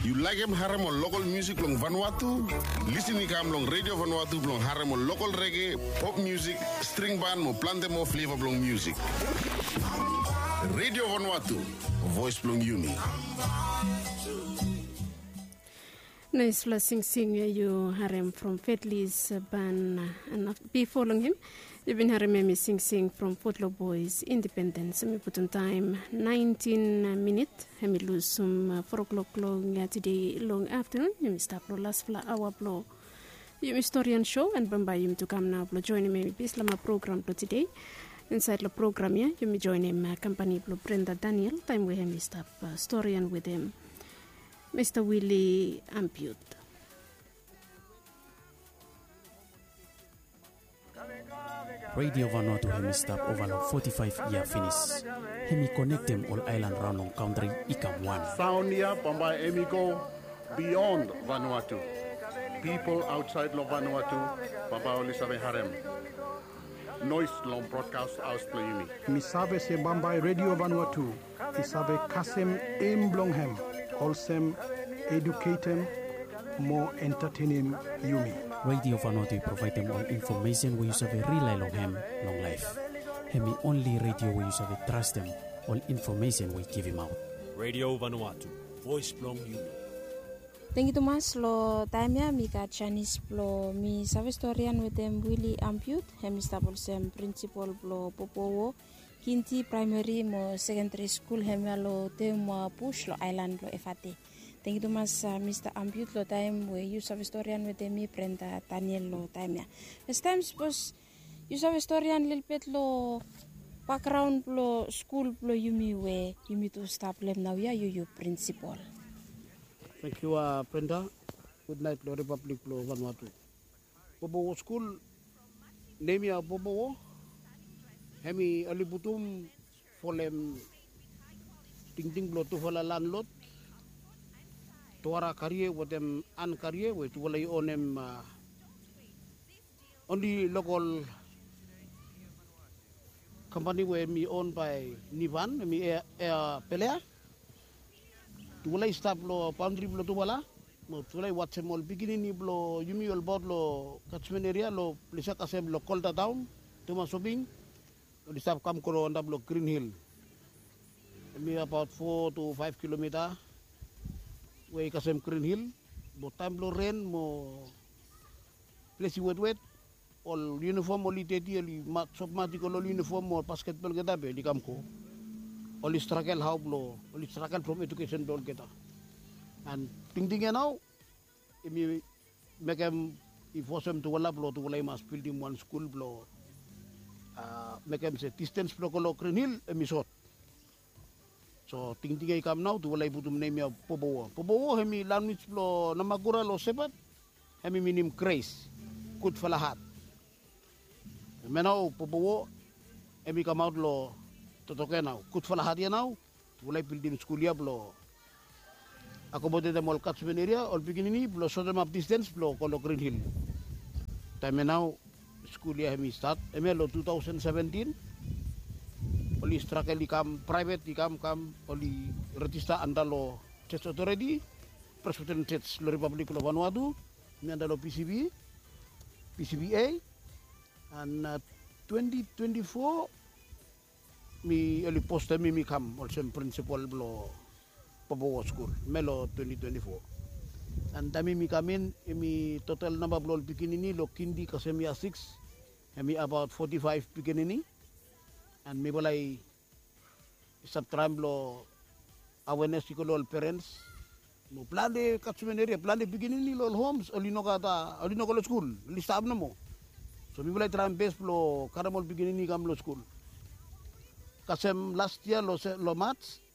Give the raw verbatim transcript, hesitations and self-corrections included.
Yu laekem harem ol lokol musik blong Vanuatu? Lisin i kam long Redio Vanuatu blong harem ol lokol rege, pop musik, string ban mo plante moa fleva blong musik. Redio Vanuatu, voes blong yumi. Naispela singsing yu harem from Fedlis Ban, na bifo long hem yu bin harem hem i singsing from Fotlo Boys Independence. Hem i putum taem naentin minit, hem i lusum fo klok long tede long aftanun. Hem i stap long laspela aoa blong yumi storian show, and bambae yumi tu kam nao blong joinim hem i pis long program blong tede. Insaed long program ya yumi joinim kampani blong Brenda Daniel taem we hem i stap storian wetem Mista Willy Ampiut. Redio Vanuatu hem i stap ova long foti faef yia finis. Hem i konektem ol aelan raon long kantri i kam wan. Saon ya bambae hem i go bion Vanuatu. Pipol aotsaed long Vanuatu bambae oli save harem noes long brodkas haos blong yumi. Mi save se bambae Redio Vanuatu i save kasem em blong hem olsem eduketem mo entatenem yumi. Redio Vanuatu i provaedem ol infomesen we yu save rilae long hem long laef. Hem i onli redio we yu save trastem ol infomesen we i givimaot. Redio Vanuatu, voes blong yumi. Tangkiu tumas. Long taem ya mi gat janis blong mi save storian wetem Willy Ampiut. Hem i stap olsem prinsipol blong Popowo Kindi Praemeri mo Sekendari Skul hemia long Teumua Bus long aelan blong Efate. Tangkiu tumas, Mista Ampiut, long taem we yu save storian wetem mi, Brenda Daniel, long taem ya. Fastaem sapos yu save storian lelebet long bakgraon blong skul blong yumi we yumi tu stap long hem naoia, yu yu prinsipol. Tangkiu, Brenda. Gudnaet long Ripablik blong Vanuatu. Popowo skul, nem ya Popowo, hem i oli putum folem tingting blong tufala landlod, Tuara Karie wetem An Karie, we tufala i onem onli lokol kampani we hem i on bae Nivan, hem i Ea Pelea. Tufala i stap long baondri blong tufala mo tufala i wajem ol pikinini blong yumi olbaot long kajmen eria long ples ya kasem long Kolda Taon, Teumua Soping. Oli stap kam go long antap long Grin Hil. Hem i abaot fo tu faef kilomita we i kasem Grin Hil. Mo taem blong ren mo ples i wetwet, ol yunifom oli deti, oli sop mati go long ol yunifom mo basketbol olgeta be oli kam go. Oli stragel hao blong, oli stragel from edukesen blong olgeta. And tingting ya nao hem i mekem, i fosem tufala blong tufala i mas bildim wan skul blong mekem se distens blong go long Grin Hil hem i sot. So tingting ya i kam nao, tufala i putum nem ya Popowo. Popowo hem i lanwis blong Namakura long Sepat, hem i minim gres, gudfala hat. Hemia nao Popowo hem i kamaot long totok ya nao, gudfala hat ya nao. Tufala i bildim skul ya blong akomodetem ol kajmen eria, ol pikinini blong sotemap distens blong go long Grin Hil. Taem ya nao skul ya hem i stat, hemia long tu taosen seventin. Oli stragel i kam, praevet i kam kam, oli rejista anda long Church Authority, Presbyterian Church long Ripablik blong Vanuatu, hemi anda long PCB, PCBA. And twenti twenti fo mi oli postem mi, mi kam olsem prinsipol blong Popowo skul, hemia long twenti twenti fo. And taem mi kam in, hemi total namba blong ol pikinini long kindi kasem yia sikis, hemi abaot foti faef pikinini. And mifala i stap traem blong awenes i go long ol perens mo plante kajmen eria, plante pikinini long ol homs oli no gat, oli no go long skul, oli stap nomo. So mifala i traem bes blong karem ol pikinini i kam long skul. Kasem las yia long Maj,